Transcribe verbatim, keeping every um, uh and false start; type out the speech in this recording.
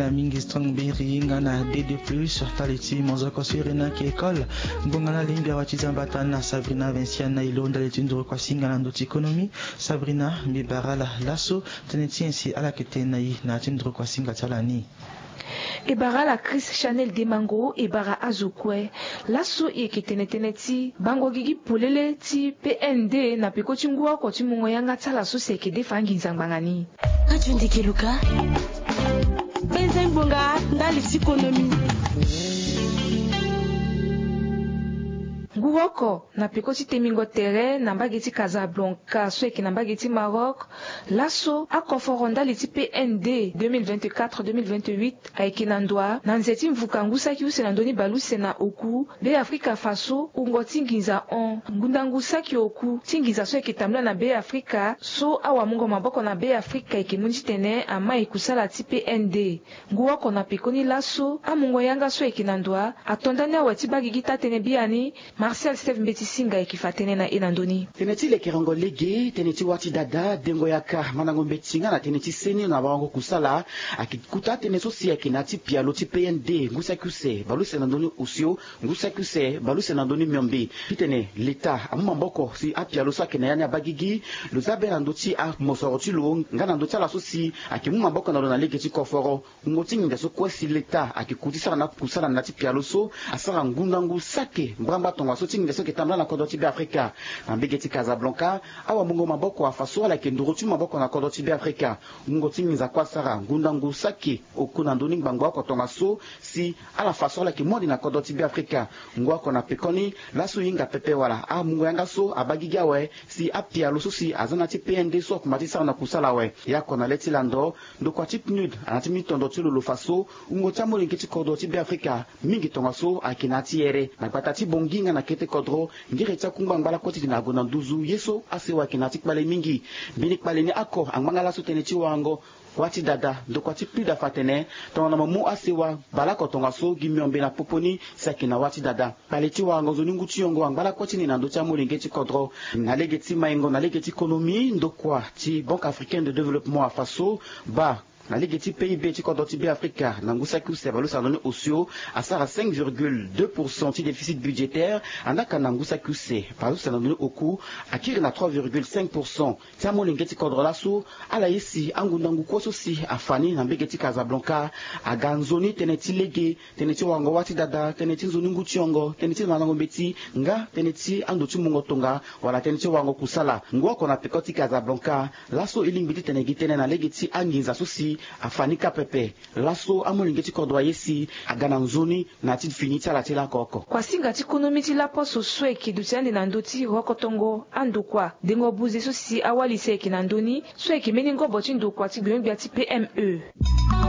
Na mingi strong beri nga na d deux plus, ndali ti mozoko so iri ni ayeke école. Ngbonga na lingbi awa ti zambata na Sabrina Vinciane na ilo ndali ti nduru kuasinga na ndo ti économie. Sabrina, mbi bara ala laso tënë ti nyen si ala yeke tene na i na ya ti nduru kuasinga ti ala ni? E bara ala Chris Chanel Demango, e bara azo kue. Laso e yeke tene tënë ti bango gigi polele ti P N D na peko ti ngu oko ti mungo yanga ti ala so si ayeke defa anginza ngbanga ni. Radio Ndeke Luka, penze ngbonga ndali ti konomi. Ngu oko na peko ti temingo tere na mbage ti Casablanca so ayeke na mbage ti Maroc, laso akoforo ndali ti P N D deux mille vingt-quatre deux mille vingt-huit ayeke na ndoa na nze ti mvuka ngu saki use na ndö ni baleuse na oku, Beafrika fa so wungo ti nginza hon ngundangu saki oku ti nginza so ayeke tambula na Beafrika so awamungo maboko na Beafrika ayeke mu ni titene amai kusala ti P N D. Ngu oko na pekoni laso amungo yanga so ayeke na ndoa ato ndani awe ti baa gigi taa-tënë biani. Martial Steve Mbeti Singa ayeke fa tënë na e na ndö ni. Tënë ti lekerengo lege, tënë ti wâ ti dada, dengo yaka, mandango mbeti nga na tënë ti seni na warango kusala ayeke kuta tënë so si ayeke na ya ti pialo ti P N D ngu saki use baleuse na ndö ni osio, ngu saki use baleuse na ndö ni miombe. Titene leta amu maboko si apialo so ayeke na ya ni abaa gigi. Lo za be na ndö ti amosoro ti lo nga na ndö ti ala so si ayeke mu maboko na lo na lege ti koforo. Wungo ti nginza so kue si leta ayeke ku ti sara na akusala na ya ti pialo so asara ngundangu saki mbrambra tongaso ti nginza so ayeke tambula na kodro ti Beafrika. Na mbage ti Casablanca, awamungo maboko afa so ala yeke nduru ti mu maboko na kodro ti Beafrika. Wungo ti nginza kue asara ngundangu saki oku na ndö ni ngbangbo oko tongaso si ala fa so ala yeke mu ande na kodro ti Beafrika. Ngu oko na pekoni laso e hinga pepe wala amungo yanga so abaa gigi awe si apialo so si aza na ya ti P N D so akumba ti sara na kusala awe. E oko na le ti lando, ndokua ti PNUD ana ti mu tondro ti lo lo fa so wungo ti amolenge ti kodro ti Beafrika mingi tongaso ayeke na ya ti here na gbata ti Bangui nga na kete kodro. Ngere ti akungba angba lakue ti tene ague na nduzu ye so asewa ayeke na ya ti kpale mingi. Mbeni kpale ni oko angba nga laso tënë ti warango wâ ti dada. Ndokua ti PNUD afa atene tongana mo mu asewa baleoko tongaso gi miombe na popo ni si ayeke na wâ ti dada. Kpale ti warango nzoni ngu ti yongo angba lakue ti ni na ndö ti amolenge ti kodro. Na lege ti maingo na lege ti konomi, ndokua ti Banque Africaine de Développement afa so baa na lege ti P I B ti kodro ti Beafrika na ngu saki use baleuse na ndö ni osio asara cinq virgule deux pour cent ti déficit budgétaire. Andaa ka na ngu saki use baleuse na ndö ni oku akiri na trois virgule cinq pour cent. Ti amolenge ti kodro laso ala ye si angundangu kue so si afa ni na mbage ti Casablanca aga nzoni tënë ti lege, tënë ti warango wâ ti dada, tënë ti nzoni ngu ti yongo, tënë ti mandango mbeti nga tënë ti ando ti mungo tonga wala tënë ti warango kusala. Ngu oko na peko ti Casablanca laso e lingbi titene e gi tënë na lege ti anginza so si afa ni kâ pepe. Laso amolenge ti kodro aye si aga na nzoni na ya ti fini ti ala ti lako oko. Kuasinga ti konomi ti laposo so ayeke duti ande na ndö ti rokotongo andokua dengo buze so si awali si ayeke na ndö ni so ayeke mbeni ngobo ti ndokua ti gbio-gbia ti P M E.